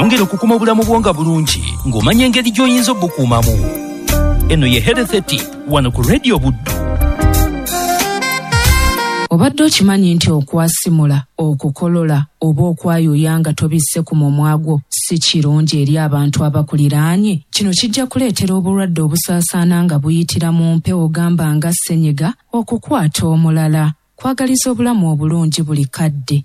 Yongera okukuuma obulamu bwo nga bulungi ng'omanya engeri gy'oyinza obukuumamu. Eno ye Health Tip wano ku Radio Buddu. Obadde okimanyi nti okwasimula, okukolola oba okwayuuya nga tobisse ku mumwa gwo si kirungi eri abantu abakuliraanye? Kino kijja kuleetera obulwadde obusaasaana nga buyitira mu mpewo gamba nga ssenyiga okukwata omulala. Kwagaliza obulamu obulungi buli kadde.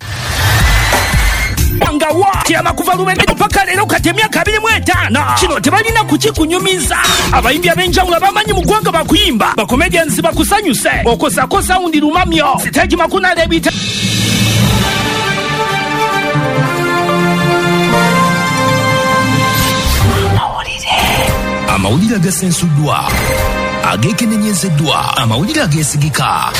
Nga wa tyama kuva lubende paka leero kati emyaka 25. Kino tebalina kukikunyumiza. Abayimbi ab'enjawulo abamanyi mu ggwanga bakuyimba, bakomedians bakusanyuse, okozako sawundi lumamyo, siteegi makunala ebita. Amawulire agasensuddwa, ageekenenyezeddwa, amawulire ageesigika.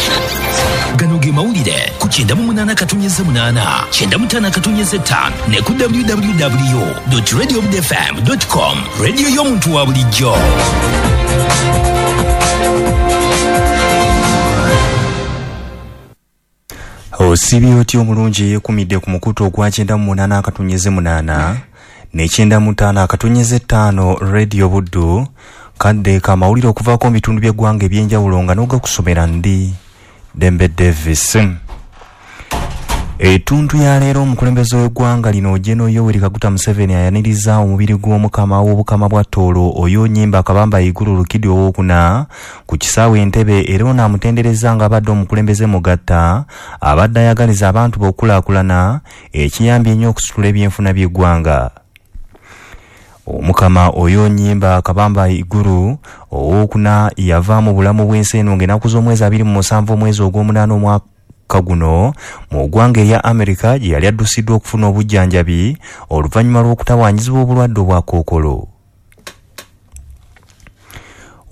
Gano ge mawulire ku 98.8, 95.5 ne ku www.radiobudfm.com. Radio y'omuntu wa bulijjo. Osibye otya omulungi eyeekumidde ku mukutu ogwa 98.8 ne 95.5 Radio Buddu, kadde kamawulire okuvaako mu bitundu by'eggwanga eby'enjawulo nga n'ogakusomera ndi Dembe Davis. Ettuntu ya leero omukulembeze w'eggwanga lino Gen. Yoweri Kaguta Museveni ayaniriza omubiri gw'omukama w'obukama bwa Tooro Oyo Nyimba Kabamba Iguru Rukidi owokuna ku kisaawe Entebbe, era ono amutendereza ng'abadde omukulembeze mugatta abadde ayagaliza abantu b'okulaakulana ekiyambye ennyo okusitula ebyenfuna by'eggwanga. Omukama Oyo Nyimba Kabamba Iguru owokuna yava mu bulamu bw'ensi eno ng'ennaku z'omwezi 27 omwezi ogw'omunaana omwaka guno mu ggwanga erya Amerika gye yali addusiddwa okufuna obujjanjabi oluvannyuma lw'okutawaanyizibwa obulwadde obwa kookolo.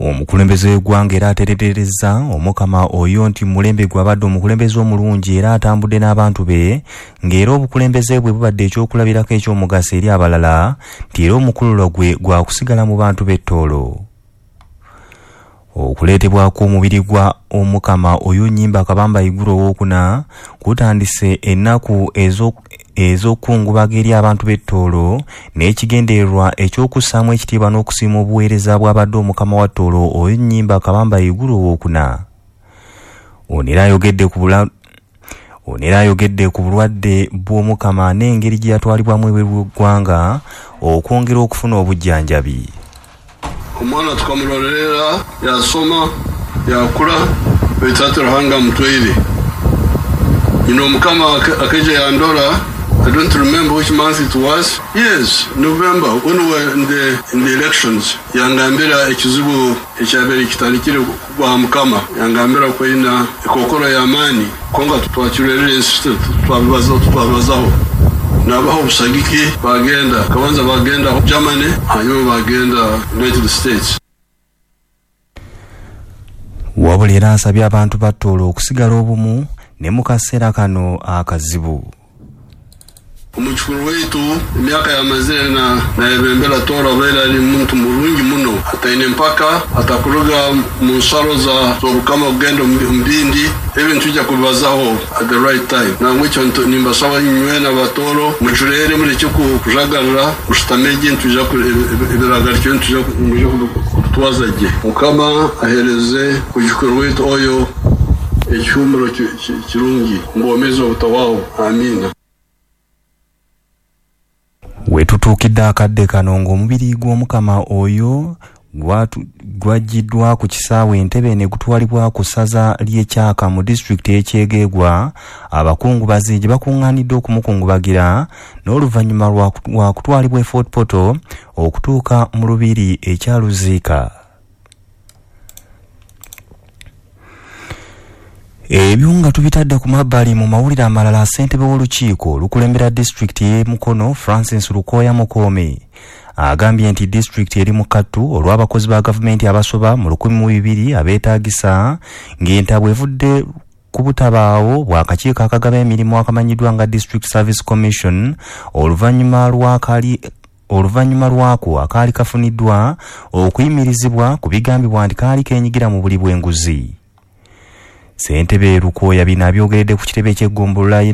Omukulembeze w'eggwanga era atereerezza omukama oyo nti mulembe gwe abadde omukulembeze omulungi era atambudde n'abantu be, ng'era obukulembeze bwe bubadde ekyokulabirako eky'omugaso eri abalala, nti era omukululo gwe gwakusigala mu bantu b'e Tooro. Okuleetebwako omubiri gwa omukama Oyo Nyimba Kabamba Iguru owokuna kutandise ennaku ez'okukungubaga eri abantu b'e Tooro n'ekigendererwa eky'okussaamu ekitiibwa n'okusiima obuweereza bw'abadde omukama wa Tooro Oyo Nyimba Kabamba Iguru owokuna. Ono era ayogedde ku bulwadde bw'omukama n'engeri gye yatwalibwamu ebweru w'eggwanga okwongera okufuna obujjanjabi. Omwana tukamurorera, yasoma, yakura, baitu Ruhanga amutwaire. You know, Mukama akeja yandora, I don't remember which month it was. Yes, November, when we were in the elections. Yangambira ekizibu ekyabere kitandikire kwa Mukama. Yangambira kwina ekokoro ya amani. Konga twakirerera ensi twabibazaho. Nabaho obusagiki bagenda, kabanza bagenda Germany, hanyuma bagenda United States. Wabula era asabye abantu ba Tooro okusigala obumu ne mu kaseera kano akazibu. Omukikuru waitu emyaka yamazire nayebembera Tooro abeera ari muntu murungi muno, ataine mpaka, atakuruga mu nsaro z'obukama kugenda omu bindi, ebintu tujja kubibazaho at the right time. Nangwekyo nimbasaba nywena Abatooro mucureere mureke kujagarira, mushutame gye nituja ebiragarikyo nituja kutwaza gye. Mukama ahereze omukikuru waitu oyo ekihumuro kirungi, ngwomeze obutawaho. Amina. Wetutuukidde akadde kano ng'omubiri gw'omukama oyo gwaggiddwa ku kisaawe Entebbe ne gutwalibwa ku ssaza ly'e Kyaka mu disitulikiti y'e Kyegegwa, abakungubazi gye bakuŋŋaanidde okumukungubagira n'oluvannyuma lwa kutwalibwa e Fort Portal okutuuka mu Lubiri ekya Luziika. Ebyo nga tubitadde ku mabbali, mu mawulire amalala, ssentebe w'olukiiko olukulembera disitulikiti y'e Mukono Francis Lukoya Mukoome agambye nti disitulikiti eri mu kattu olw'abakozi ba gavumenti abasoba mu 1,200 abeetaagisa, ng'entabwe evudde ku butabaawo bw'akakiiko akagaba emirimu akamanyiddwa nga District Service Commission oluvannyuma lwako akaali kafuniddwa okuyimirizibwa ku bigambibwa nti kaali keenyigira mu buli bw'enguzi. Ssentebe Lukoya bino abyogeredde ku kitebe ky'eggombolola y'e